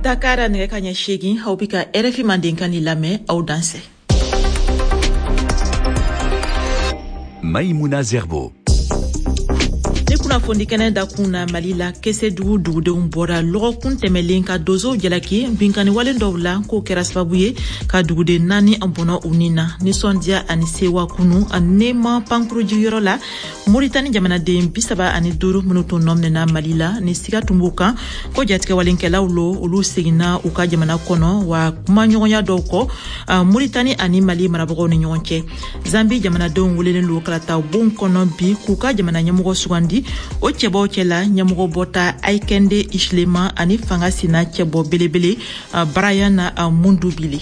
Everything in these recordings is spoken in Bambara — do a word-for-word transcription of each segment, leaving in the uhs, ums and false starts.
Dakar nɛgɛ ka ɲɛ seegin, aw bɛ ka R F I Mandenkan ni lamɛn. Aw dansɛ. Maïmouna Zerbo. Ni kunnafoni kɛnɛ dakun na, Mali la, Kesedugu dugudenw bɔra lɔgɔkun tɛmɛlen ka donsow jalaki binkanni walen dɔw la, k'o kɛra sababu ye ka duguden naani bɔnɔ u ni na. Nisɔndiya ani sewa kunu Nema pankurujigiyɔrɔ la, Moritani jamanaden bi saba ani duuru minnu tun nɔminɛna Mali la ni siga tun b'u kan ko jatigɛwalenkɛlaw lo, olu seginna u ka jamana kɔnɔ. Wa kumaɲɔgɔnya dɔw kɔ Moritani ani Mali marabagaw ni ɲɔgɔn cɛ, Zambi jamanadenw welelen lo kalata bon kɔnɔ bi k'u ka jamana ɲɛmɔgɔ sugandi. O cɛbaw cɛla, ɲɛmɔgɔ bɔta Hakainde Hichilema ani fanga sina cɛbɔ belebele Brian Mundubile.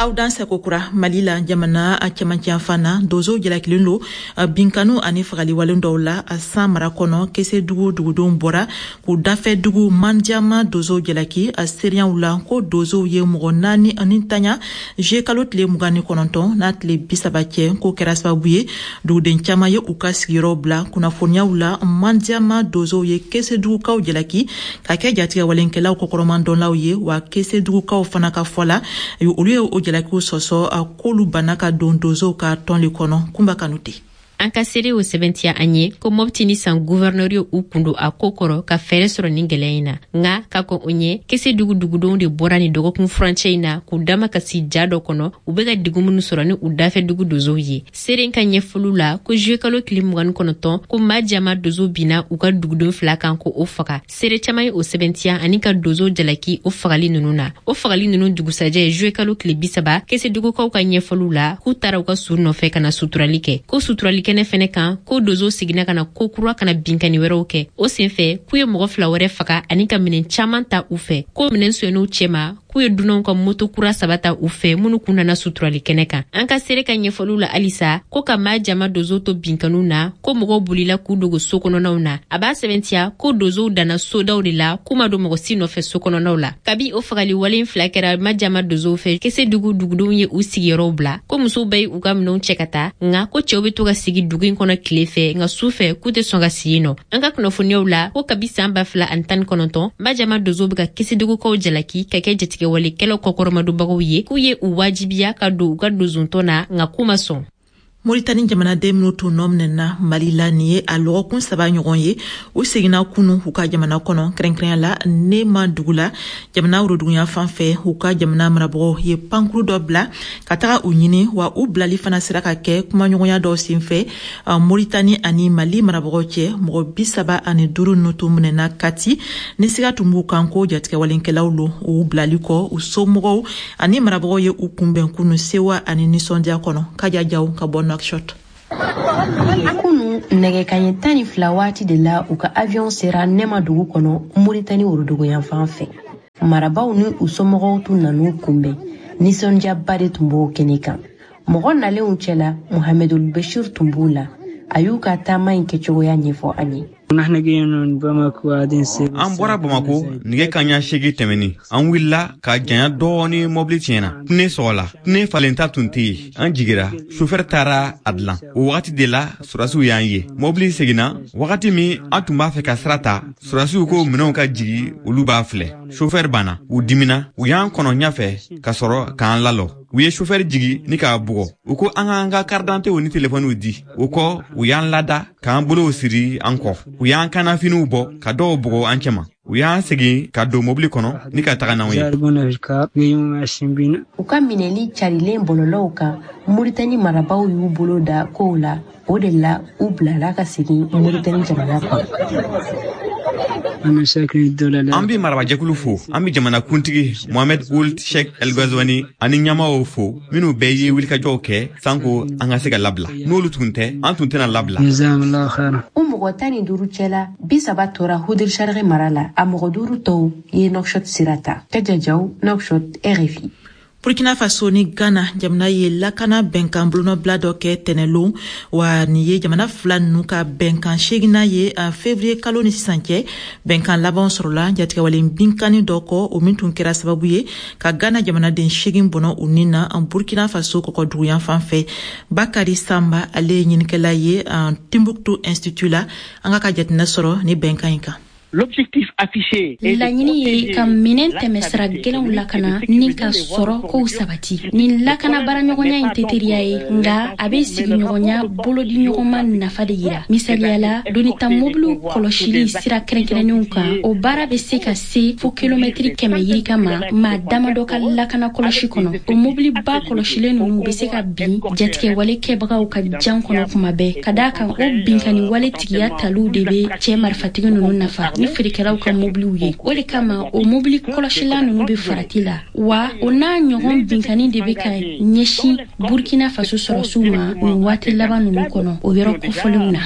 Aw dan sɛko kura. Mali la, jamana cɛmancɛ na, donsow jalakilen lo binkanu ani fagaliwalen dɔw la San mara kɔnɔ. Kesedugu dugudenw bɔra k'u dafɛ dugu Manjama donsow jalaki a seereyaw la ko donsow ye mɔgɔ naani ani tanya juillet kalo tile mugan ni kɔnɔntɔn n'a tile bi saba cɛ, k'o kɛra sababu ye duguden caman ye u ka sigiyɔrɔw bila. Kunnafoniyaw la, Manjama donsow ye Kesedugukaw jalaki ka kɛ jatigɛwalenkɛlaw kɔkɔrɔmadɔnlaw ye. Wa Kesedugukaw fana ka fɔ la, olu ye o jalakiw sɔsɔ, k'olu banna ka don donsow ka tɔn le kɔnɔ. Kunba Kanute. An ka seere o sɛbɛntiya an ye ko Mɔpti ni San guvɛrnɛri ye u kun don a ko kɔrɔ ka fɛɛrɛ sɔrɔ nin gwɛlɛya in na. Nga ka kɔn o ɲɛ, Kese dugu dugudenw de bɔra nin dɔgɔkun furancɛ in na k'u dama ka si ja dɔ kɔnɔ, u be ka degun minnu sɔrɔ ni u dafɛ dugu donsow ye. Seere ka ɲɛfɔliw la ko juillet kalo tile mugan ni kɔnɔntɔn, ko maa jama donso binna u ka dugudenw fila kan ko o faga. Seere caaman ye o sɛbɛntiya ani ka donsow jalaki o fagali nunu na. O fagali nunu dugusajɛ, juillet kalo tile bisaba, Kesedugukaw ka ɲɛfɔliw la k'u taara u ka su nɔfɛ ka na suturali kɛ, ko suturali kɛnɛ fɛnɛ kan, ko donso seginna ka na ko kura ka na binkani wɛrɛw kɛ. O senfɛ, k'u ye mɔgɔ fila wɛrɛ faga ani ka minɛn caaman ta u fɛ, ko minɛn sonyɛn'u cɛma, k'u ye dunanw ka moto kura saba ta u fɛ minnu kun nana suturali kɛnɛ kan. An ka seere ka ɲɛfɔliw la halisa ko ka maa jama donso to binkaniw na, ko mɔgɔw bolila k'u dogo so kɔnɔnaw na. A b'a sɛbɛntiya ko donsow danna sodaw de la, k'u ma don mɔgɔ si nɔfɛ so kɔnɔnaw la. Kabi o fagali walen fila kɛra ma jama donsow fɛ, Kese dugu dugudenw ye u sigiyɔrɔw bila, ko musow bɛɛ ye u ka minɛnw cɛ ka taa, nka ko cɛw be to ka sigi dugu in kɔnɔ tile fɛ, nka su fɛ k'u tɛ sɔn ka sigi nɔ. An ka kunnafoniyaw la ko kabi saan ba fila ani tan ni kɔnɔntɔn, Majama donsow be ka Kesedugukaw jalaki ka kɛ jatigɛwalekɛlaw kɔkɔrɔmadonbagaw ye, k'u ye u wajibiya ka don u ka donsontɔn na, nka k'u ma sɔn. Moritani jamanaden minnu tun nɔ minɛna Mali la nin ye a lɔgɔkun saba ɲɔgɔn ye, u seginna kunu u ka jamana kɔnɔ, kɛrɛnkɛrɛnya la Nema dugu la, jamana woroduguya fan fɛ. U ka jamana marabagaw ye pankuru dɔ bila ka taga u ɲini. Wa u bilali fana sera ka kɛ kumaɲɔgɔnya dɔw senfɛ Moritani ani Mali marabagaw cɛ. Mɔgɔ bi saba ani duuru ninnu tun minɛna Kati ni siga tun b'u kan ko jatigɛwalenkɛlaw lo. U bilali kɔ, u somɔgɔw ani marabagaw ye u kunbɛn kunu sewa ani nisɔndiya kɔnɔ. Kaja Jaw ka bɔ Nouakchott. Kunu nɛgɛ kaɲɛ tan ni fila waati de la, u ka avion sera Nɛma dugu kɔnɔ, Moritani woroduguyanfan fɛ. Marabaw ni u somɔgɔw tun nan'u kunbɛn, nisɔndiyaba de tun b'o kɛnɛ kan. Mɔgɔ nalenw cɛla, Mohamedul Bashir tun b'u la. A y'u ka taama in kɛcogoya ɲɛfɔ an ye. An bɔra Bamako nɛgɛ kaɲa seegin tɛmɛni. An wulila ka janya dɔɔni, mɔbili tiɲɛna, pneu sɔgɔla, pneu falenta tun tɛ yen. An jigira, sofɛri taara a dilan. O wagati de la sɔrɔdasiw y'an ye. Mɔbili seginna wagati min an tun b'a fɛ ka sira ta, sɔrɔdasiw ko minɛnw ka jigi, olu b'a filɛ. Sofɛri banna, u dimina, u y'an kɔnɔ ɲɛfɛ ka sɔrɔ k'an lalɔ. U ye sofɛri jigi ni k'a bugɔ. U ko an k'an ka karidantew ni telefɔniw di. O kɔ, u y'an lada k'an bolow siri an kɔ. U y'an kannafiniw bɔ ka dɔw bugɔ an cɛma. U y'an segin ka don mobili kɔnɔ ni ka taga n'anw ye. U ka minɛli carilen bɔlɔlɔw kan, Moritani marabaw y'u bolo da kow la. O de la u bilala ka segin Moritani jamana kɔnɔ. An bɛ marabajɛkulu fo, an bɛ jamana kuntigi Mohamed Ould Cheikh El Ghazouani ani ɲɛmaaw fo minnu bɛɛ ye wulikajɔw kɛ sanko an ka se ka labila. N'olu tun tɛ, an tun tɛna labila. U mɔgɔ tan ni duuru cɛla, bi saba tora Hodh Chargui mara la, a mɔgɔ duuru tɔw ye Nouakchott sira ta. Kaja Jaw, Nouakchott, R F I. Burkina Faso ni Ghana jamana ye lakana bɛnkan bolonɔbila dɔ kɛ tɛnɛlon. Wa nin ye jamana fila ninnu ka bɛnkan seginna ye février kalo ni sisan cɛ. Bɛnkan laban sɔrɔla jatigɛwalen binkanni dɔ kɔ, o min tun kɛra sababu ye ka Ghana jamanaden seegin bɔnɔ u ni na Burkina Faso kɔkɔduguyan fan fɛ. Bakari Samba, ale ye ɲinikɛla ye Timbuktu Institut la. An ka ka jateminɛ sɔrɔ ni bɛnkan in kan. Laɲini ye ka minɛn tɛmɛsira gɛlɛnw lakana ni ka sɔrɔ kow sabati. Nin lakana baaraɲɔgɔnya in tɛ teriya ye, nka a bɛ sigiɲɔgɔnya bolodiɲɔgɔnma nafa de yira. Misaliya la, donita mobiliw kɔlɔsili sira kɛrɛnkɛrɛnnenw kan, o baara bɛ se ka se fo kilomɛtiri kɛmɛ yirika ma maa damadɔ ka lakana kɔlɔsi kɔnɔ. O mobiliba kɔlɔsilen ninnu bɛ se ka bin jatigɛwale kɛbagaw ka jan kɔnɔ kuma bɛɛ, ka d'a kan o binkanni wale tigiya taliw de bɛ cɛ marifatigi ninnu nafa ni feerekɛlaw ka mobiliw ye. O de kama o mobili kɔlɔsila ninnu bɛ farati la, wa o n'a ɲɔgɔn binkanni de bɛ ka ɲɛsin Burkina Faso sɔrɔsiw ma nin waati laban ninnu kɔnɔ o yɔrɔ kofɔlenw na.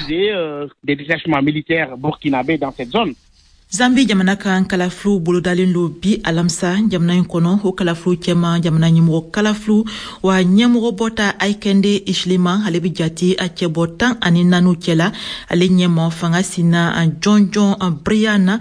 Zambi jamana kan kalafiliw bolodalen lo bi alamisa jamana in kɔnɔ. O kalafiliw cɛma jamana ɲɛmɔgɔ kalafiliw wa ɲɛmɔgɔ bɔta Hakainde Hichilema, ale bi jate a cɛbɔ tan ani naani cɛla. Ale ɲɛma fanga sina a jɔnjɔn a Brian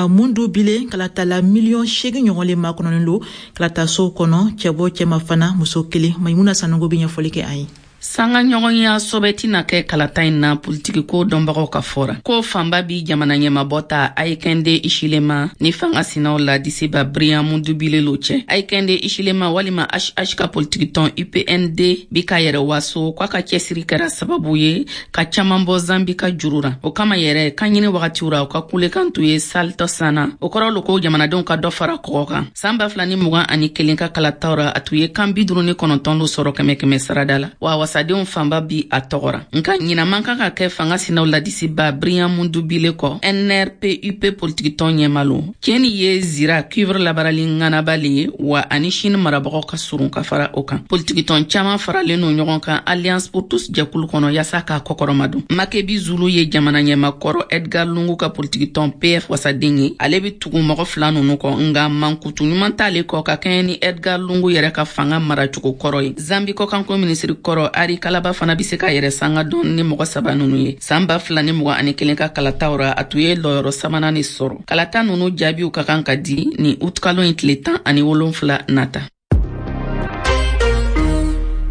Mundubile kalatala miliyɔn seegin ɲɔgɔn le makɔnɔnen lo kalatasow kɔnɔ, cɛbɔ cɛma fana muso kelen. Maimuna Sanogo bɛ ɲɛfɔli kɛ an ye. Sanga ɲɔgɔnya sɔbɛ tɛna kɛ kalata in na politiki ko dɔnbagaw ka fɔra ko fanba bi jamana ɲɛmabɔ ta Hakainde Hichilema ni fanga sinaw la disiba Brian Mundubile lo cɛ. Hakainde Hichilema walima H H ka politiki tɔn U P N D bi ka yɛrɛ waso k'a ka cɛsiri kɛra sababu ye ka caman bɔ Zambi ka juru ra. O kama yɛrɛ kan ɲini wagatiw ra u ka kulekan tun ye Salt Sana. O kɔrɔ lo ko jamanadenw ka dɔ fara kɔgɔ kan. San ba fila ni mugan ani kelen ka kalataw ra, a tun ye kan bi duuru ni kɔnɔntɔn lo sɔrɔ kɛmɛ kɛmɛ sarada la, wa wasadenw fanba bi a tɔgɔ ra. Nka ɲina man kan ka kɛ fanga sinaw ladisiba Brian Mundubile kɔ N R P U P politikitɔn ɲɛma lo. Tiɲɛ ye zira cuivre labarali ŋanaba le ye, wa ani Chine marabagaw ka surun ka fara o kan. Politikitɔn caman faralen no ɲɔgɔn kan Alliance pour tous jɛkulu kɔnɔ yaasa k'a kɔkɔrɔma don. Makebi Zulu ye jamana ɲɛmakɔrɔ Edgar Lungu ka politikitɔn P F wasaden ye. Ale bi tugu mɔgɔ fila nunu kɔ, nka mankutu ɲuman t'ale kɔ ka kɛɲɛ ni Edgar Lungu yɛrɛ ka fanga maracogo kɔrɔ ye. Zambi kɔkanko minisiri kɔrɔ Ari Kalaba fana bi se ka yɛrɛ sanga dɔn ni mɔgɔ saba nunu ye. San ba fila ni mugan ani kelen ka kalataw ra, a tun ye lɔyɔrɔ sabanan de sɔrɔ. Kalata nunu jaabiw ka kan ka di ni utukalo in tile tan ani wolonfila nata.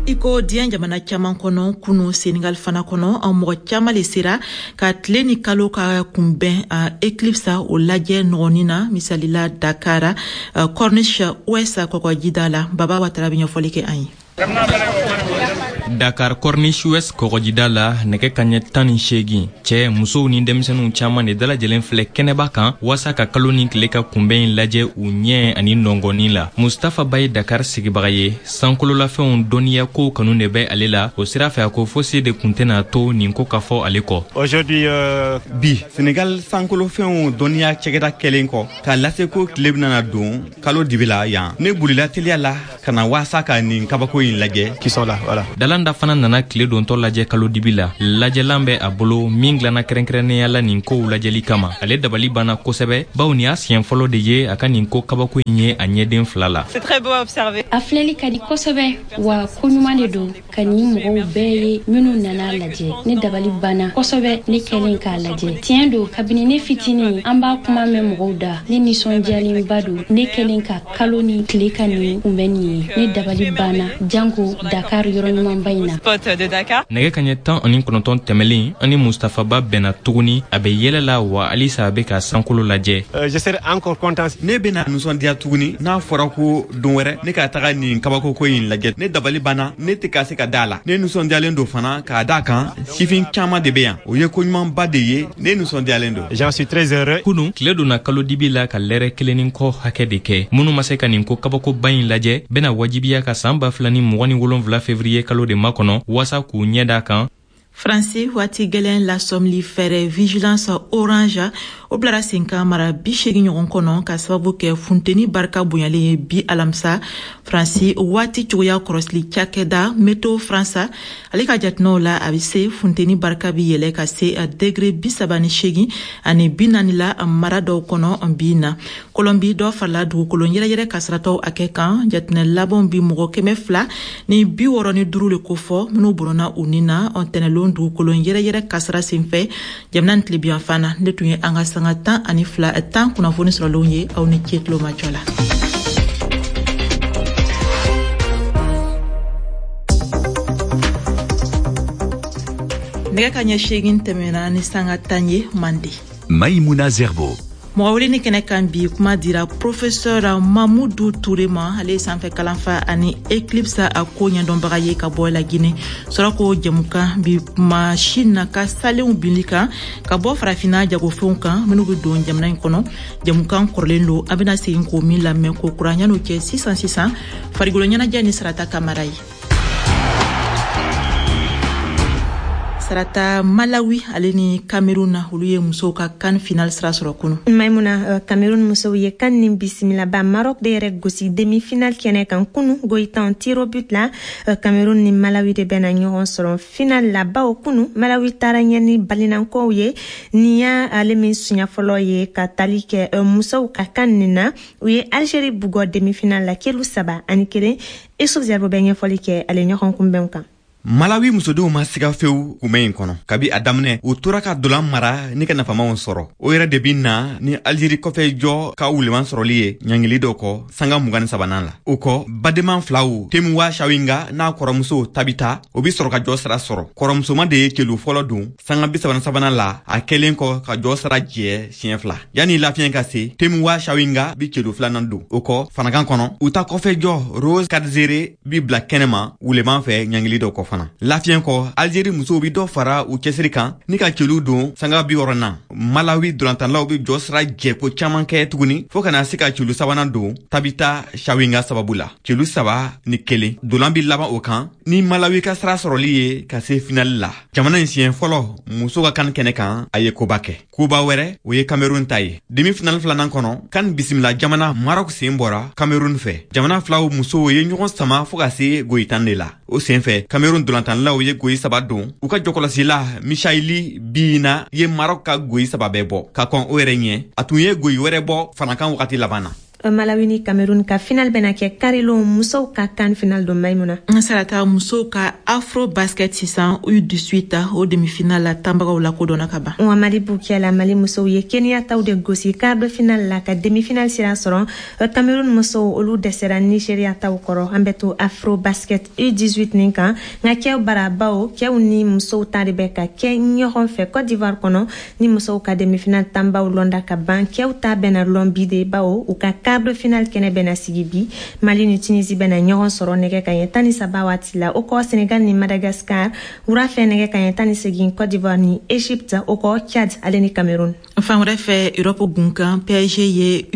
I ko diɲɛ jamana caman kɔnɔ, kunu Senegal fana kɔnɔ, an mɔgɔ caman le sera ka tile ni kalo ka kunbɛn a eclipse o lajɛ nɔgɔnin na, misalila Dakar Corniche Ouest kɔgɔjida la. Baba Watara bɛ ɲɛfɔli kɛ an ye. Dakar Corniche Ouest kɔgɔjida la, nɛgɛ kaɲɛ tan ni seegin, cɛ musow ni denmisɛnninw caman de dalajɛlen filɛ kɛnɛba kan waasa ka kalo ni tile ka kunbɛn in lajɛ u ɲɛ ani nɔngɔnni la. Mustafa Ba ye Dakar sigibaga ye, sankololafɛnw dɔnniya kow kanu de bɛ ale la. O sira fɛ a ko fosi de kun tɛna to nin ko ka fɔ ale kɔ. Aujourd'hui euh... bi Senegal sankolofɛnw dɔnniya cɛgɛda kɛlen kɔ k'a lase ko tile bɛna don kalo dibi la yan, ne bolila teliya la ka na waasa ka nin kabako in lajɛ. Qui sont là, voilà. Dalanda fana nana tile dontɔ lajɛ kalo dibi la. Lajɛlan bɛ a bolo min dilanna kɛrɛnkɛrɛnnenya la nin kow lajɛli kama. Ale dabali banna kosɛbɛ, bawo nin y'a siɲɛ fɔlɔ de ye a ka nin ko kabako in ye a ɲɛden fila la. A filɛli ka di kosɛbɛ, wa ko ɲuman de don ka nin mɔgɔw bɛɛ ye minnu nana lajɛ. Ne dabali banna kosɛbɛ ne kɛlen k'a lajɛ. Tiɲɛ don, kabini ne fitinin an b'a kuma mɛn mɔgɔw da. Ne nisɔndiyalenba don ne kɛlen ka kalo ni tile ka nin kunbɛn nin ye. Ne dabali banna janko Dakar yɔrɔ ɲumanba in na. Nɛgɛ kaɲɛ tan ani kɔnɔntɔn tɛmɛlen, ani Mustafa Ba bɛnna tuguni. A bɛ yɛlɛ la wa halisa a bɛ ka sankolo lajɛ. Ne bɛna nisɔndiya tuguni n'a fɔra ko don wɛrɛ ne ka taga nin kabakoko in lajɛ. Ne dabali banna, ne tɛ ka se ka da la. Ne nisɔndiyalen don fana k'a d'a kan sifin caman de bɛ yan. O ye koɲumanba de ye, ne nisɔndiyalen don. J'en suis très heureux. Kunu tile donna kalo dibi la ka lɛrɛ kelen ni kɔ hakɛ de kɛ. Minnu ma se ka nin ko kabakoba in lajɛ bɛna wajibiya ka san ba fila ni mugan ni wolonfila fevrier kalo de makɔnɔ waasa k'u ɲɛ d'a kan. Faransi waati gɛlɛn lasɔmili fɛɛrɛ vigilance orange o bilara sen kan mara bi seegin ɲɔgɔn kɔnɔ ka sababu kɛ funteni barika bonyalen ye bi alamisa. Faransi waati cogoya kɔrɔsili cakɛda Météo France ale ka jateminɛw la, a bɛ se funteni barika bi yɛlɛ ka se degré bi saba ni seegin ani bi naani la mara dɔw kɔnɔ bi na. Kolɔnbi dɔ farala dugukolo yɛrɛyɛrɛ kasaratɔw hakɛ kan. Jateminɛ labanw bi mɔgɔ kɛmɛ fila ni bi wɔɔrɔ ni duuru le kofɔ minnu bɔnna u ni na ntɛnɛlon dugukolo yɛrɛyɛrɛ kasara senfɛ jamana tilebiyanfan na. Ne tun ye an ka sanga tan ani fila tan kunnafoni sɔrɔlenw ye. Aw ni ce tulomajɔ la. Nɛgɛ ka ɲɛ seegin tɛmɛna ni sanga tan ye Mande. Maïmouna Zerbo. Mɔgɔ weleni kɛnɛ kan bi, kuma dira professeur Mamudu Ture ma. Ale ye sanfɛ kalanfa ani éclipse a ko ɲɛdɔnbaga ye ka bɔ Lagine. Sɔrɔ ko jɛmukan bi kuma Chine ka salenw binli kan ka bɔ farafinna jagofɛnw kan minnu bɛ don jamana in kɔnɔ. Jɛmukan kɔrɔlen don, an bɛna segin k'o min lamɛn ko kura. Yan'o cɛ, sisan sisan, farikolo ɲɛnajɛ ni Sarata Kamara ye. Sarata, Malawi ale ni Cameroun na, olu ye musow ka CAN final sira sɔrɔ kunu. Maimuna, Cameroun musow ye CAN nin bisimilaba Maroc de yɛrɛ gosi demi final kɛnɛ kan kunu goyitan tir au but la. Cameroun ni Malawi de bɛna ɲɔgɔn sɔrɔ final la, bawo kunu Malawi taara ɲɛ ni balinankow ye. Nin y'a ale min siɲɛ fɔlɔ ye ka tali kɛ musow ka CAN nin na. U ye Algérie bugɔ demi final la kelu saba ani kelen. Isuf Zerbo bɛ ɲɛfɔli kɛ ale ɲɔgɔn kunbɛnw kan. Malawi musodenw ma siga fewu kunbɛn in kɔnɔ. Kabi a daminɛ, u tora ka dolan mara ni ka nafamaw sɔrɔ. O yɛrɛ de bi na ni Alizeri kɔfɛ jɔ ka wuleman sɔrɔli ye ɲangili dɔ kɔ sanga mugan ni sabanan la. O kɔ, badenman filaw Temuwa Shawinga n'a kɔrɔmuso Tabita, o bi sɔrɔ ka jɔ sira sɔrɔ. Kɔrɔmusoma de ye kelu fɔlɔ don sanga bi saba ni sabanan la, a kɛlen kɔ ka jɔ sira jɛ siɲɛ fila. Yanni lafiɲɛ ka se, Temuwa Shawinga bi kelu filanan don. O kɔ, fanakan kɔnɔ, u ta kɔfɛ jɔ Rose Kadzere bi bila kɛnɛma wuleman fɛ ɲangili dɔ kɔ. Lafiɲɛ kɔ, Algérie musow bi dɔ fara u cɛsiri kan ni ka celu don sanga bi wɔɔrɔnan. Malawi dolantanlaw bi jɔ sira jɛko caman kɛ tuguni fɔɔ kana se ka celu sabanan don Tabita Shawinga sababu la, celu saba ni kelen. Dolan bi laban o kan ni Malawi ka sira sɔrɔli ye ka se finali la. Jamana in siɲɛ fɔlɔ muso ka kan kɛnɛ kan, a ye koba kɛ. Koba wɛrɛ, o ye Cameroun ta ye. Demi finali filanan kɔnɔ, kan bisimila jamana Maroc sen bɔra Cameroun fɛ. Jamana filaw musow ye ɲɔgɔn sama fɔɔ ka se goyitan de la. O sen fɛ, Cameroun dolantanlaw ye goyi saba don. U ka jɔkɔlɔsila Michaili Biina ye Maroc ka goyi saba bɛɛ bɔ. Ka kɔn o yɛrɛ ɲɛ, a tun ye goyi wɛrɛ bɔ fanakan wagati laban na. Malawi ni Cameroun ka final bɛna kɛ karilon. Musow ka CAN final don, Maimuna. Sarata, musow ka Afro Basket sisan U dix-huit, o demi-finale la tanbagaw lakodɔnna ka ban. Wa Mali Bukiya la, Mali musow ye Kenya taw de gosi quart de finale la ka demi finale sira sɔrɔ. Cameroun musow, olu dɛsɛra Nigeria taw kɔrɔ. An bɛ to Afro Basket U dix-huit nin kan, nka kɛw bara, bawo kɛw ni musow ta de bɛ ka kɛ ɲɔgɔn fɛ Côte d'Ivoire kɔnɔ. Ni musow ka demi finale tanbaw lɔnda ka ban, kɛw ta bɛna lɔn bi de, bawo u ka quart de finale kɛnɛ bɛna sigi bi. Mali ni Tunisie bɛna ɲɔgɔn sɔrɔ nɛgɛ kaɲɛ tan ni saba waati la. O kɔ, Senegal ni Madagascar wura fɛ nɛgɛ kaɲɛ tan ni segin, Côte d'Ivoire ni Égypte, o kɔ Tchad ale ni Cameroun. Fan wɛrɛ fɛ, Europe gun kan, P S G ye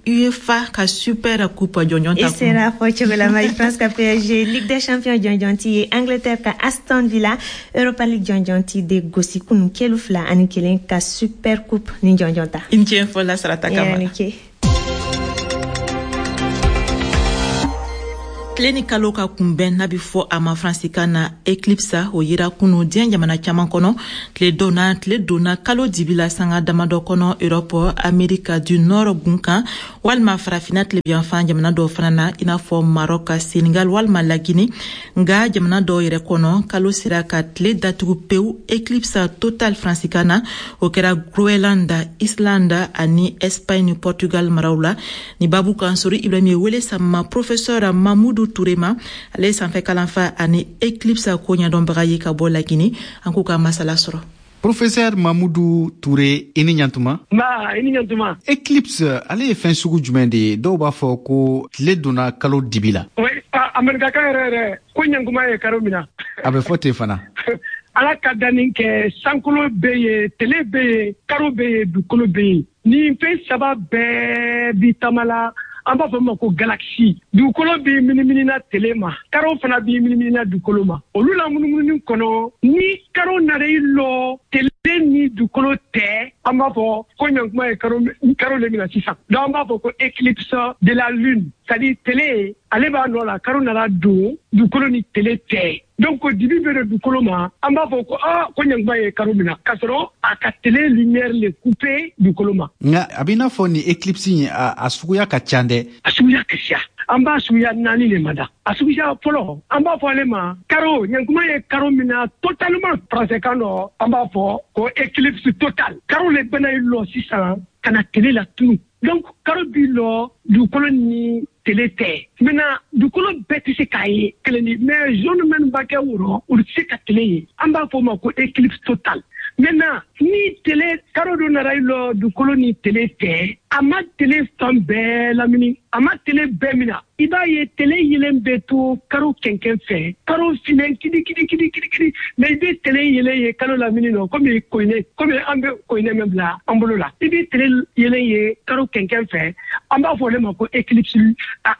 UEFA ka Super Coupe jɔnjɔn ta. I sera fɔ cogo la, Marie France ka P S G Ligue des Champions jɔnjɔn ti ye Angleterre ka Aston Villa Europa League jɔnjɔn ti de gosi kunu kelu fila ani kelen ka Super Coupe ni jɔnjɔn ta. I ni ce fɔ la, Sarata Kamara. Tile ni kalo ka kunbɛn n'a bɛ fɔ a ma faransikan na éclipse, o yira kunu diɲɛ jamana caman kɔnɔ. Tile donna tile donna kalo dibi la sanga damadɔ kɔnɔ Europe, Amérique du Nord gun kan walima farafinna tilebiyanfan jamana dɔw fana na, i n'a fɔ Maroc, Senegal walima Lagine. Nga jamana dɔw yɛrɛ kɔnɔ, kalo sera ka tile datugu pewu, éclipse total faransikan na. O kɛra Groenland, Islande ani Espagne ni Portugal maraw la. Ni babu kan, Sori Ibrahim ye wele sama professeur Mamudu Ture ma. Ale ye sanfɛ kalanfa ani éclipse ko ɲɛdɔnbaga ye ka bɔ Lagine. An k'u ka masala sɔrɔ. Professeur Mamudu Touré, i ni ɲantuma. Nba, i ni ɲantuma. Éclipse, ale ye fɛn sugu jumɛn de ye? Dɔw b'a fɔ ko tile donna kalo dibi la. Oui, amerikakan yɛrɛ yɛrɛ ko ɲankuma ye karo min na. A bɛ fɔ ten fana. Ala ka danni kɛ, sankolo bɛ yen, tele bɛ yen, karo bɛ yen, dugukolo bɛ yen. Nin fɛn saba bɛɛ bi taama la, an b'a fɔ ma ko galaxie. Dugukolo b'i miniminina tele ma, karo fana b'i miniminina dugukolo ma. Olu la munumununi kɔnɔ, ni karo nana i lɔ tele ni dugukolo tɛ, an b'a fɔ ko ɲankuma ye karo karo le mina sisan. Donc an b'a fɔ ko éclipse de la lune, c'est à dire tele ale b'a nɔ la, karo nana don dugukolo ni tele tɛ, donc dibi bɛ don dugukolo ma. An b'a fɔ ko aa, ko ɲankuma ye karo mina, k'a sɔrɔ a ka tele lumière le couper dugukolo ma. Nka a b'i n'a fɔ nin éclipse in, a, a suguya ka ca dɛ. A suguya ka ca, an b'a suguya naani le ma da. A suguya fɔlɔ, an b'a fɔ ale ma karo ɲankuma ye karo min na totalement. Français kan dɔ, an b'a fɔ ko éclipse total. Karo le bɛna i lɔ sisan ka na tele la tunu. Donc karo b'i lɔ dugukolo ni tele tɛ. Maintenant dugukolo bɛɛ tɛ se k'a ye kelen di, mais zone minnu b'a kɛ o rɔ, olu tɛ se ka tele ye. An b'a fɔ o ma ko éclipse total. Maintenant, ni tele karo dɔ nana i lɔ dugukolo ni tele tɛ, a ma tele fan bɛɛ lamini, a ma tele bɛɛ mina. I b'a ye tele yelen bɛ to karo kɛnkɛn fɛ, karo finnen kidi kidi kidi kidi kidi, mais i bɛ tele yelen ye kalo lamini nɔ, komi koyine, komi an bɛ koyine min bila an bolo la. I bɛ tele yelen ye karo kɛnkɛn fɛ, an b'a fɔ ale ma ko éclipse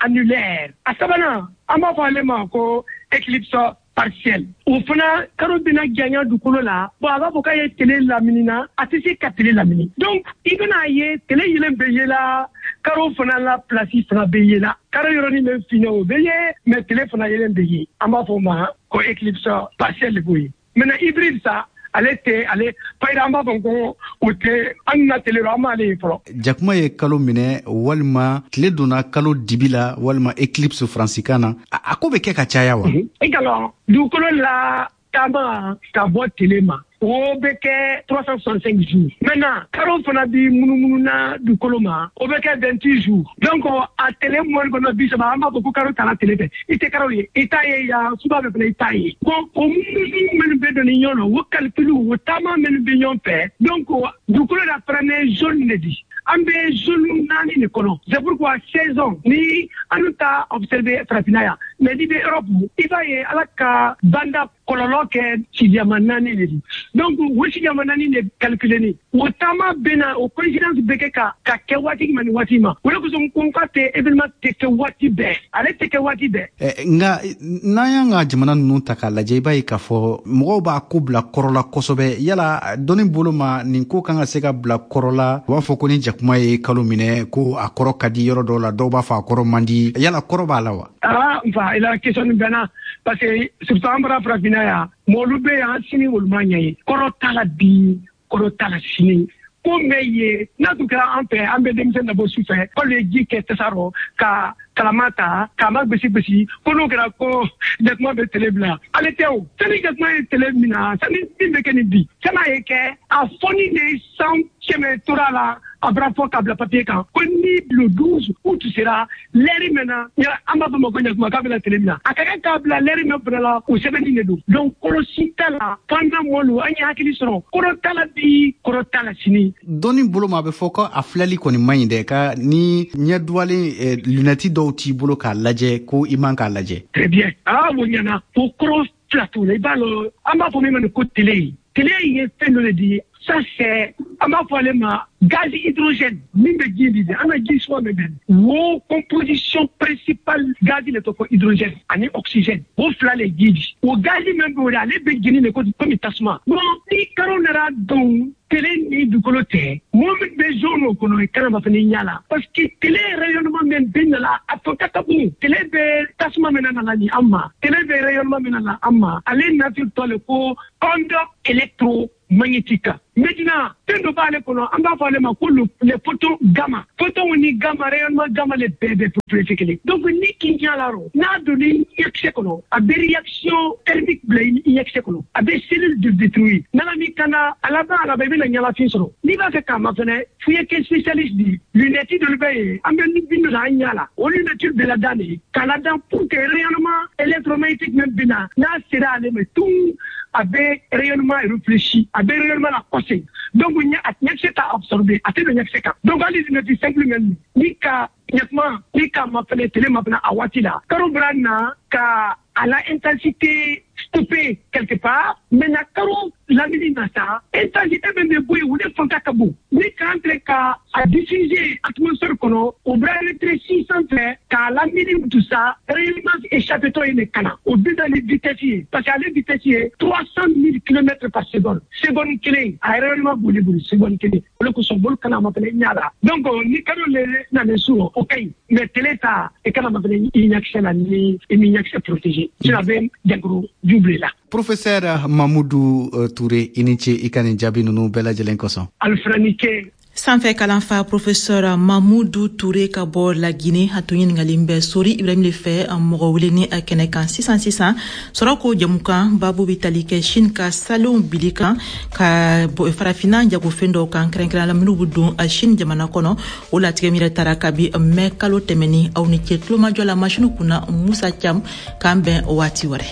annulaire. A sabanan, an b'a fɔ ale ma ko éclipse partielle. O fana karo bɛna janya dugukolo la, bon a b'a fɔ k'a ye tele lamini na, a tɛ se ka tele lamini. Donc i bɛna ye tele yelen bɛ yela, karo fana la place fana bɛ yela. Karo yɔrɔnin bɛ finnen o bɛ ye, mais tele fana yelen bɛ ye. An b'a fɔ o ma ko éclipse partielle de b'o ye. Maintenant hybride sa, ale tɛ ale payira, an b'a fɔ ko o tɛ an na tele rɔ, an m'ale ye fɔlɔ. Jakuma ye kalo minɛ walima tile donna kalo dibi la walima éclipse faransikan na, a ko bɛ kɛ ka caya wa? I ka dugukolo la taama ka bɔ tele ma, o bɛ kɛ trois cent soixante-cinq jours. Maintenant karo fana bi munumunu na dugukolo ma, o bɛ kɛ vingt-huit jours. Donc a tele mɔni kɔnɔ bi saba, an b'a fɔ ko karo taara tele fɛ. I tɛ karo ye, i t'a ye yan, suba bɛ fana i t'a ye. Bon o munumunu minnu bɛ don ni ɲɔgɔn na, o calcul o taama minnu bɛ ɲɔgɔn fɛ, donc dugukolo la fana zone de di. An bɛ zone naani de kɔnɔ. C'est pourquoi saison ni an ta observer farafinna yan, mais n'i bɛ Europe, i b'a ye Ala ka banda kɔlɔlɔ kɛ sigiyama naani de di. Donc o sigiyama naani de calculer ni o taama bɛ na, o coïncidence bɛ kɛ ka ka kɛ waati ma ni waati ma. O de kosɔn ko n k'a tɛ événement tɛ kɛ waati bɛɛ, ale tɛ kɛ waati bɛɛ. Nka n'an y'an ka jamana ninnu ta k'a lajɛ, i b'a ye k'a fɔ mɔgɔw b'a ko bila kɔrɔ la kosɛbɛ. Yala dɔnni bolo ma nin ko kan ka se ka bila kɔrɔ la? U b'a fɔ ko ni jakuma ye kalo minɛ ko a kɔrɔ ka di yɔrɔ dɔw la, dɔw b'a fɔ a kɔrɔ man di. Yala kɔrɔ b'a la wa? Ah n fa, i la question nin bɛnna, parce que surtout an bɔra farafinna yan, mɔgɔlu bɛ yan sini olu ma ɲɛ ye. Kɔrɔ t'a la bi, kɔrɔ t'a la sini. Ko bɛ ye n'a tun kɛra an fɛ, an bɛ denmisɛn dabɔ su fɛ, k'olu ye ji kɛ tasa rɔ ka kalama ta k'a ma gosi gosi, ko n'o kɛra ko jakuma bɛ tele bila. Ale tɛ o, sani jakuma ye tele min na, sani min bɛ kɛ nin bi, sani a ye kɛ a fɔni de san kɛmɛ tora la, a bɔra fɔ k'a bila papier kan ko ni le douze août sera lɛri min na, an b'a fɔ ma ko jakuma k'a bɛna tele min na, a ka kan k'a bila lɛri min fana la, o sɛbɛnni de don. Donc kɔrɔ si t'a la, f'an mɔlu an ye hakili sɔrɔ, kɔrɔ t'a la bi, kɔrɔ t'a la sini. Dɔnni bolo ma, a bɛ fɔ ko a filɛli kɔni man ɲi dɛ, ka ni ɲɛ duwalen lunɛti dɔw t'i bolo k'a lajɛ, ko i man k'a lajɛ. Très bien, ah o ɲɛna, o kɔrɔ fila t'o la. I b'a lɔn, an b'a fɔ min ma ko tele, tele ye fɛn dɔ de di. Ça c'est, an b'a fɔ ale ma gaz hydrogène min bɛ ji di, an ka ji suma bɛ bɛn. O composition principale gaz de tɔgɔ hydrogène ani oxygène, o fila le ji di. O gaz min bɛ o de, ale bɛ jeni de komi tasuma. Bon ni karo nana don tele ni dugukolo tɛ, mɔgɔ min bɛ zone o kɔnɔ, i kana ma fana ɲɛ la, parce que tele rayonnement min bɛ nana a fɔ ka ka bon. Tele bɛ tasuma min nana ni an ma, tele bɛ rayonnement min nana an ma, ale nature tɔ le ko onde électromagnétique. Maintenant fɛn dɔ b'ale kɔnɔ, an b'a fɔ ale ma ko les photons gamma. Photons ni gamma, rayonnement gamma le bɛɛ bɛ propriété kelen. Donc ni k'i ɲɛ la rɔ, n'a donna ɲɛkisɛ kɔnɔ, a bɛ réaction thermique bila i ɲɛkisɛ kɔnɔ, a bɛ cellule de détruire. Nana min kana a laban a laban i bɛna ɲɛnafin sɔrɔ. N'i b'a fɛ k'a ma fɛnɛ, f'i ye kɛ spécialiste di. Lunette dɔ bɛ yen, an bɛ bin dɔ an ɲɛ la, o lunette bɛ ladan de k'a ladan pour que rayonnement électromagnétique min bɛ na, n'a sera ale ma tun, a bɛ rayonnement réfléchi, a bɛ rayonnement la kɔsegin. Donc a ɲɛkisɛ t'a absorber, a tɛ don ɲɛkisɛ kan. Donc hali lunette simple min ni ka ɲɛkuma ni k'a ma fɛnɛ tele ma fɛnɛ a waati la, karo bɔra na ka a la intensité stoppée quelque part. Maintenant karo lamini na sa, intensité min bɛ bɔ yen, o de fanga ka bon. Ni k'an tɛ ka a diffuser atmosphère kɔnɔ, o bɛ rétréci sanfɛ k'a lamini tout ça, rayonnement échappé tɔ ye de ka na. O bɛ na ni vitesse ye, parce que ale vitesse ye trois cent mille kilomètres par seconde. Seconde kelen a rayonnement boli boli seconde kelen. O de kosɔn bolo kana ma fɛnɛ ɲɛ la. Donc ni karo le nana su o ka ɲi, mais tele ta i kana ma fɛnɛ i ɲɛkisɛ la ni i m'i ɲɛkisɛ protéger, sinon a bɛ jankaro ju bila i la. Professeur Mamoudou Touré, i ni ce i ka nin jaabi ninnu bɛɛ lajɛlen kosɔn. Alifana ni ce. Sanfɛ kalanfa professeur Mamoudou Touré ka bɔ la Guinée, a tun ɲininkalen bɛ Sori Ibrahim le fɛ mɔgɔ weleni a kɛnɛ kan. Sisan sisan sɔrɔ ko jamukan babu bɛ tali kɛ Chine ka salenw bili kan ka farafinna jagofɛn dɔw kan, kɛrɛnkɛrɛnnenya la minnu bɛ don Chine jamana kɔnɔ. O latigɛ min yɛrɛ taara kabi mɛ kalo tɛmɛni. Aw ni ce tulomajɔ la masini kunna Musa Cam, k'an bɛn waati wɛrɛ.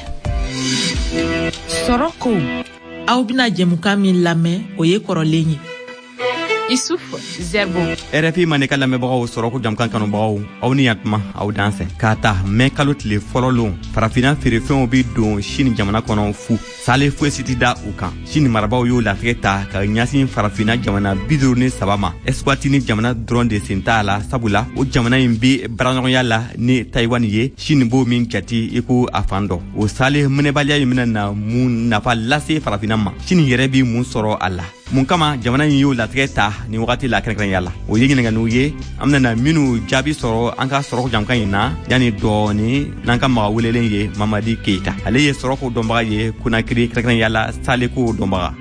Sɔrɔ ko Aw bɛna jɛmukan min lamɛn, o ye kɔrɔlen ye. Issouf Zerbo. R F I Mandenkan lamɛnbagaw, sɔrɔ ko jamukan kanubagaw, aw ni yantuma, aw dansɛ. K'a ta mɛ kalo tile fɔlɔ lon, Farafina feerefɛnw bi don Sini jamana kɔnɔ fu, sale foyi si ti da u kan. Sini marabaw y'o latigɛ ta ka ɲasin Farafina jamana bi duuru ni saba ma. Eswatini jamana dɔrɔn de sen t'a la, sabula o jamana in bi baaraɲɔgɔnya la ni Tayiwani ye, Sini b'o min jati i ko a fan dɔ. O sale minɛbaliya in bɛna na mun nafa lase Farafina ma? Sini yɛrɛ bi mun sɔrɔ a la? Mun kama jamana in y'o latigɛ ta nin wagati la kɛrɛnkɛrɛnya la? O ye ɲininganiw ye an bɛna minnu jaabi sɔrɔ an ka sɔrɔko jamukan in na yanni dɔɔni, n'an ka maga welelen ye Mamadi Keyita. Ale ye sɔrɔko dɔnbaga ye Konakiri, kɛrɛnkɛrɛnya la saleko dɔnbaga.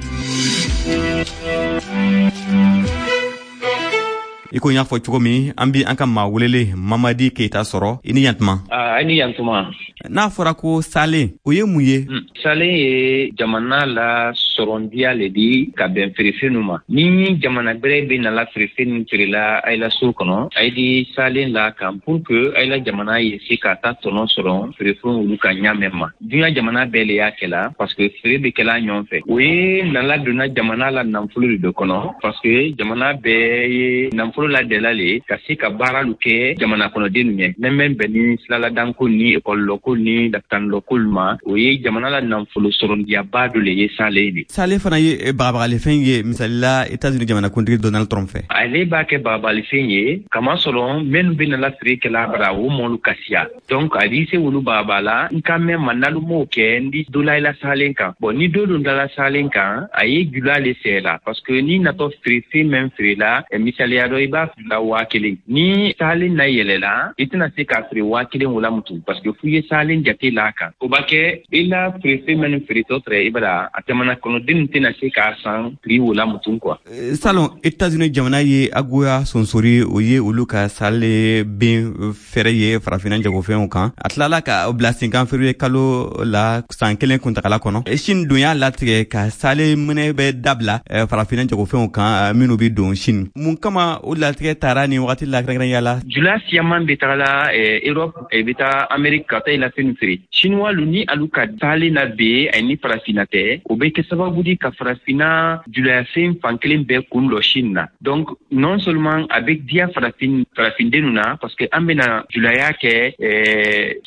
I ko n y'a fɔ cogo min, an bi an ka maa welele Mamadi Keyita sɔrɔ. I ni yantuma. A ni yantuma. N'a fɔra ko salen, o ye mun ye? Salen ye jamana la sɔrɔndiya le di ka bɛn feerefɛnw ma. Ni jamana gbɛrɛ bɛ nala feerefɛn feerela a la so kɔnɔ, a ye di salen la kan pour que a la jamana ye se ka taa tɔnɔ sɔrɔ feerefɛnw olu ka ɲa mɛn ma. Duɲa jamana bɛɛ le y'a kɛla, parce que feere bɛ kɛla ɲɔgɔn fɛ. O ye nala donna jamana la nafolo de dɔ kɔnɔ, parce que jamana bɛɛ ye nafolo la dɛla le ka se ka baaralu kɛ jamana kɔnɔdennu ɲɛ. Mɛn mɛn bɛn ni silaladanko ni ekɔlilɔko ni lafitanilɔkolu ma, o ye jamana la nafolo sɔrɔndiyaba dɔ le ye salen de. Sale fana ye bagabagalifɛn ye, misalila États-Unis jamanakuntigi Donald Trump fɛ. Ale b'a kɛ bagabagalifɛn ye kamasɔrɔ minnu bɛ nala feere kɛla bara, o mɔlu ka siya. Donc a b'i se wolu bagaba la n ka mɛn ma n'alu m'o kɛ, n di dɔ la i la salen kan. Bon, ni dɔ don dala salen kan, a ye jula le sɛ la, parce que ni natɔ feerefɛn mɛn feere la, misaliya dɔ, i b'a feere waa kelen, ni salen na yɛlɛla, i tɛna se k'a feere waa kelen o la mutu, parce que f'u ye salen jate la kan. O b'a kɛ i la feerefɛn minnu feeretɔ tɛrɛ i bara a jamana kɔnɔdenw tɛna se k'a san prix o la mutu quoi. Salon, États-Unis jamana ye agoya sonsori, o ye olu ka sale ben fɛɛrɛ ye Farafinna jagofɛnw kan. A tilala ka bila sen kan février kalo la san kelen kuntagala kɔnɔ. Chine dun y'a latigɛ ka sale minɛ bɛ dabila Farafinna jagofɛnw kan minnu bɛ don Chine. Mun kama o latigɛ taara nin wagati la kɛrɛnkɛrɛnya la? Jula siyaman bɛ tagala Europe, bɛ taa Amérique ka taa i la fɛn feere. Chinois lu ni alu ka taalen na be ani Farafinna tɛ, o bɛ kɛ sababu di ka Farafinna julayafɛn fan kelen bɛɛ kun lɔ Chine na. Donc non seulement a bɛ diya farafin farafindenw na, parce que an bɛna julaya kɛ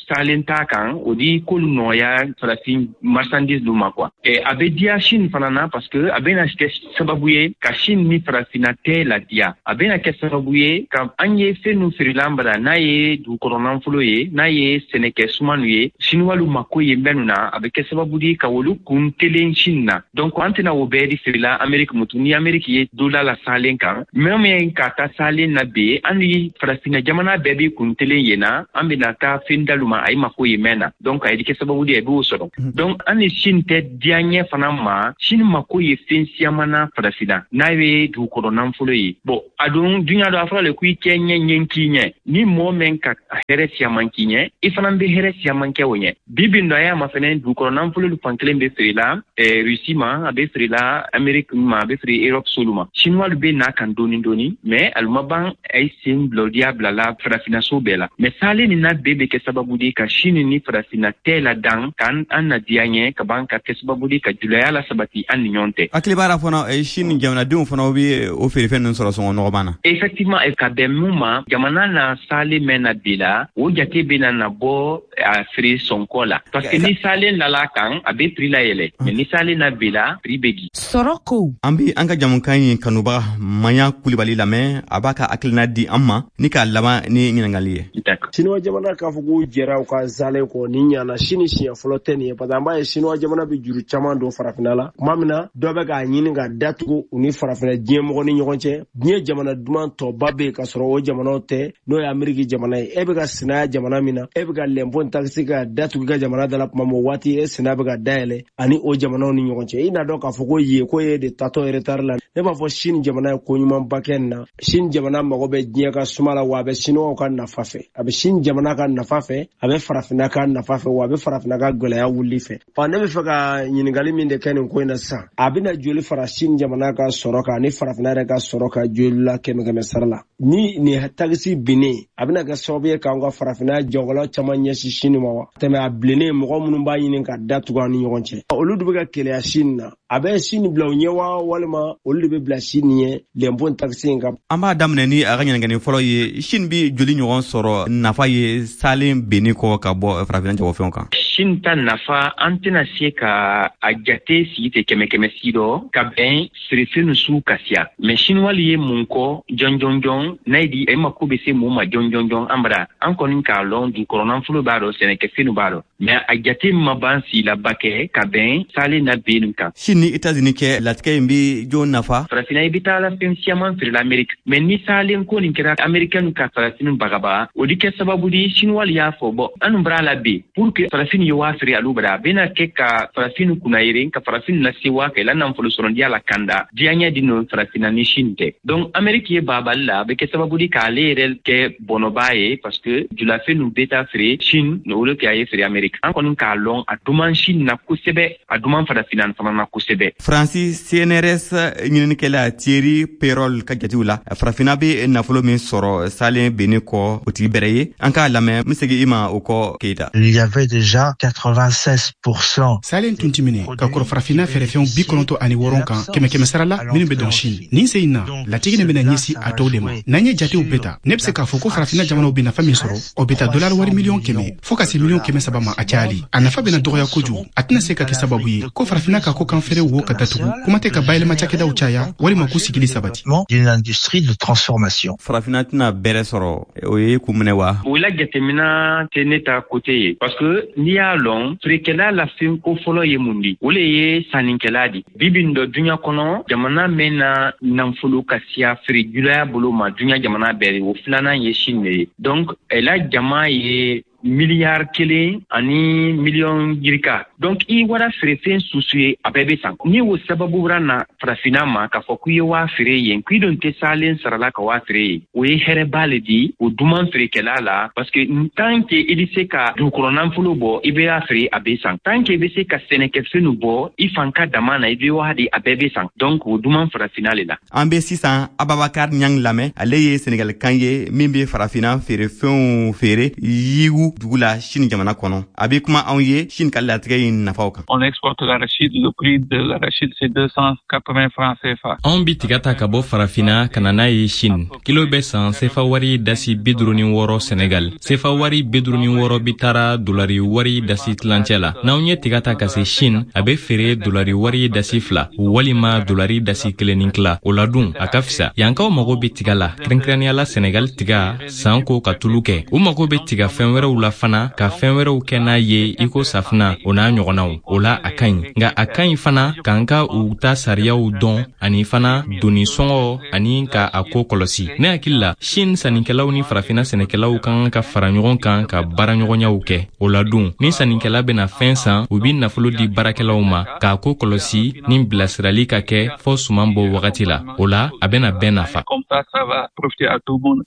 salen ta kan, o di k'olu nɔgɔya farafin marchandise lu ma quoi. A bɛ diya Chine fana na, parce que a bɛna kɛ sababu ye ka Chine ni Farafinna tɛ ladiya. A bɛna kɛ sababu ye ka an ye fɛn nu feerela an bara, n'a ye dugukɔrɔ nafolo ye, n'a ye sɛnɛkɛ sumanu ye, Chinois mako ye mɛnu na, a bɛ kɛ sababu di ka olu kun telen Chine na. Donc an tɛna o bɛɛ di feerela Amérique mutu. Ni Amérique ye dola la salen kan, mɛ min ka taa salen na be, an ni Farafinna jamana bɛɛ bi kun telen yen na, an bɛna taa fɛn dalu ma a ye mako ye mɛn na. Donc a ye kɛ sababu di a b'o sɔrɔ. Donc an ni Chine tɛ diya ɲɛ fana ma. Chine mako ye fɛn siyaman na Farafinna, n'a ye dugukɔrɔ nafolo ye. Bon, a dun duɲa dɔ a fɔra le ko i kɛ ɲɛ ɲɛ k'i ɲɛ. Ni mɔgɔ mɛn ka hɛrɛ siyaman k'i ɲɛ, i fana bɛ hɛrɛ siyaman kɛ o ɲɛ. Bi bi dɔ a y'a ma fɛnɛ, dugukɔrɔ nafolo fan kelen bɛ feerela Russie ma, a bɛ feerela Amérique ma, a bɛ feere Europe solu ma. Chinois bɛ n'a kan dɔɔni dɔɔni, mais alu ma ban a ye sen bila diya bila la Farafinna so bɛɛ la. Mais salen nin na bɛɛ bɛ kɛ sababu de ka Chine ni Farafinna tɛ la dan k'an an na diya ɲɛ ka ban ka kɛ sababu de ka julaya la sabati an ni ɲɔgɔn tɛ. Hakili b'a la fana, Chine jamanadenw fana bɛ o feerefɛn ninnu sɔrɔ sɔngɔ nɔgɔman na. Effectivement, ka bɛn mun ma, jamana na salen mɛn na bi la, o jate bɛ na na bɔ a feere sɔnkɔ la, parce que ni salen nala kan, a bɛ prix la yɛlɛ, mais ni salen na bi la, prix bɛ di. Sɔrɔ ko. An bi an ka jamukan in kanubaga Maɲa Kulibali lamɛn, a b'a ka hakilina di an ma ni k'a laban ni ɲininkali ye. Chinois jamana k'a fɔ k'u jɛra u ka salen kɔ ni ɲana, Chine siɲɛ fɔlɔ tɛ nin ye, parce que an b'a ye Chinois jamana bɛ juru caman don Farafinna la. Tuma min na dɔ bɛ k'a ɲini ka datugu u ni Farafinna diɲɛ mɔgɔ ni ɲɔgɔn cɛ, diɲɛ jamana duman tɔba bɛ yen ka sɔrɔ o jamanaw tɛ, n'o ye Ameriki jamana ye. E bɛ ka sinaya jamana min na, e bɛ ka lɛnpo takisi ka datugu i ka jamana da la tuma min, o waati e sinaya bɛ ka dayɛlɛ ani o jamanaw ni ɲɔgɔn cɛ. I n'a dɔn k'a fɔ ko yen ko ye de tatɔ retard la. Ne b'a fɔ Chine jamana ye ko ɲumanba kɛ nin na. Chine jamana mago bɛ diɲɛ ka suma la, wa a bɛ Chinois ka nafa fɛ, a bɛ Chine jamana ka nafa fɛ, a bɛ Farafinna ka nafa fɛ, wa a bɛ Farafinna ka gɛlɛya wuli fɛ. Ɔ, ne bɛ fɛ ka ɲininkali min de kɛ nin ko in na sisan, a bɛna joli fara Chine jamana ka sɔrɔ kan ani Farafinna yɛrɛ ka sɔrɔ kan joli la kɛmɛ kɛmɛ sara la? Ni nin takisi binnen, a bɛna kɛ sababu ye k'an ka Farafinna jagokɛlaw caman ɲɛsin Chine ma wa? Tɛmɛ a bilennen, mɔgɔ minnu b'a ɲini ka datugu an ni ɲɔgɔn cɛ, olu de bɛ ka keleya Chine na. A bɛ Chine bila u ɲɛ wa, walima olu de bɛ bila Chine ɲɛ lɛnpo taxe in kan? An b'a daminɛ ni a ka ɲininkali fɔlɔ ye. Chine bi joli ɲɔgɔn sɔrɔ nafa ye salen benni kɔ ka bɔ farafinna jagofɛnw kan? Chine ta nafa, an tɛna se ka a jate sigi tɛ kɛmɛ kɛmɛ si dɔ ka bɛn feerefɛn su ka siya. Mais chinois ye mun kɔ jɔn jɔn jɔn n'a ye di e mako bɛ se mun ma jɔn jɔn jɔn? An bara an kɔni k'a lɔn, dukɔrɔnafolo b'a dɔn, sɛnɛkɛfɛnw b'a dɔn, mais a jate ma ban silaba kɛ ka bɛn salen na bennu kan. Chine ni États-Unis cɛ latigɛ in bi jɔn nafa? Farafinna, i bɛ taa la fɛn siaman feerela Amérique, mais ni salen ko nin kɛra, américain ka farafin bagaba, o di kɛ sababu di. Chinois y'a fɔ, bɔn, anu bara la bi pour que farafin ye waa feere alu bara, a bɛna kɛ ka farafin kunna yere, ka farafin lase waa kɛ la nafolo sɔrɔ diya la kanda diyaɲɛ di no farafinna ni Chine tɛ. Donc Amérique ye babali la, a bɛ kɛ sababu di k'ale yɛrɛ kɛ bɔnɔba ye, parce que julafɛn nu bɛ taa feere Chine o le kɛ a ye feere Amérique. An kɔni k'a lɔn, a duman Chine na kosɛbɛ, a duman farafinna fana na kosɛbɛ. Faransi C N R S ɲininikɛla Thierry Perol ka jatew la, farafinna bɛ nafolo min sɔrɔ salen benni kɔ, o tigi bɛrɛ ye. An k'a lamɛn, n bɛ segin i ma o kɔ, Keyita. Il y avait déjà quatre-vingt-seize pour cent Salen tun ti minɛ ka kɔrɔ farafinna fɛɛrɛfɛnw bi kɔnɔntɔ ani wɔrɔn kan kɛmɛ kɛmɛ sara la minnu bɛ dɔn Chine. Nin sen in na, latigɛ nin bɛna ɲɛsin a tɔw de ma. N'an ye jatew bɛɛ ta, ne bɛ se k'a fɔ ko farafinna jamanaw bɛ nafa min sɔrɔ, o bɛ taa dolari wari miliyɔn kɛmɛ fɔɔ ka se miliyɔn kɛmɛ saba ma a cayali. A nafa bɛna dɔgɔya kojugu. A tɛna se ka kɛ sababu ye ko farafinna ka ko kan feere wo ka datugu, kuma tɛ ka bayɛlɛma cakɛdaw caya walima k'u sigili sabati. D'une industrie de transformation. Farafinna tɛna bɛrɛ sɔrɔ, o ye kun minɛ wa? O la jateminɛ tɛ ne ta côté ye, parce que n'i y'a lɔn, feerekɛla la fɛn ko fɔlɔ ye mun di? O le ye sannikɛla di. Bi bi nin dɔ, duɲa kɔnɔ, jamana mɛn na nafolo ka siya feere julaya bolo ma, duɲa jamana bɛɛ, o filanan ye Chine de ye. Donc la jama ye miliyari kelen ani miliyɔn yirika. Donc i wara feerefɛn susu ye, a bɛɛ bɛ san. Ni o sababu wara na farafinna ma k'a fɔ k'i ye waa feere yen, k'i don tɛ salen sarala ka waa feere yen, o ye hɛrɛba le di o duman feerekɛla la, parce que tant que i bɛ se ka dugukɔrɔ nafolo bɔ, i bɛ y'a feere, a bɛ san. Tant que i bɛ se ka sɛnɛkɛfɛnw bɔ i fan ka dama na, i bɛ waa di, a bɛɛ bɛ san. Donc o duman farafinna le la. An bɛ sisan Ababakar Ɲang lamɛn. Ale ye Senegalkan ye min bɛ farafinna feerefɛnw feere Yiwu dugu la, Chine jamana kɔnɔ. A bɛ kuma anw ye Chine ka latigɛ in nafaw kan. On exporte l'arachide, le prix de l'arachide, c'est deux cent quatre-vingts francs C F A. Anw bi tiga ta ka bɔ farafinna ka na n'a ye Chine. Kilo bɛ san sefa wari dasi bi duru ni wɔɔrɔ Senegal. Sefa wari bi duru ni wɔɔrɔ bi taara dolari wari dasi tilancɛ la. N'anw ye tiga ta ka se Chine, a bɛ feere dolari wari dasi fila walima dolari dasi kelen ni tila. O la dun, a ka fisa. Yankaw mago bɛ tiga la, kɛrɛnkɛrɛnnenya la Senegal tiga san ko ka tulu kɛ. U mago bɛ tiga fɛn wɛrɛw la fana, ka fɛn wɛrɛw kɛ n'a ye, i ko safina, o n'a ɲɔgɔnnaw. O la a ka ɲi, nka a ka ɲi fana k'an ka u ta sariyaw dɔn, ani fana doni sɔngɔ, ani ka a ko kɔlɔsi. Ne hakili la, Chine sannikɛlaw ni farafinna sɛnɛkɛlaw ka kan ka fara ɲɔgɔn kan ka baaraɲɔgɔnyaw kɛ. O la dun, ni sannikɛla bɛna fɛn san, u bi nafolo di baarakɛlaw ma k'a ko kɔlɔsi ni bilasirali ka kɛ fɔɔ suman bɔ wagati la. O la a bɛna bɛɛ nafa.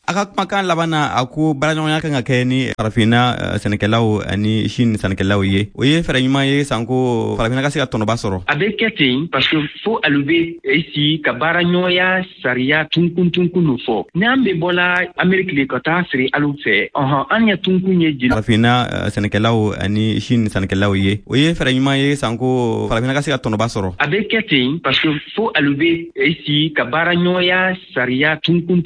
A ka kumakan laban na, a ko baaraɲɔgɔnya kan ka kɛ ni farafinna sɛnɛkɛlaw ani Chine sannikɛlaw ye. O ye fɛɛrɛ ɲuman ye sanko farafinna ka se ka tɔnɔba sɔrɔ. A bɛ kɛ ten, parce que fo alu bɛ esi ka baara ɲɔgɔnya sariya tunkun tunkun fɔ. N'an bɛ bɔla Amérique le ka taa feere alu fɛ, ɔhɔn, an ya tunkun ye jeli. Farafinna sɛnɛkɛlaw ani Chine sannikɛlaw ye, o ye fɛɛrɛ ɲuman ye sanko farafinna ka se ka tɔnɔba sɔrɔ. A bɛ kɛ ten, parce que fo alu bɛ esi ka baara ɲɔgɔnya sariya tunkun.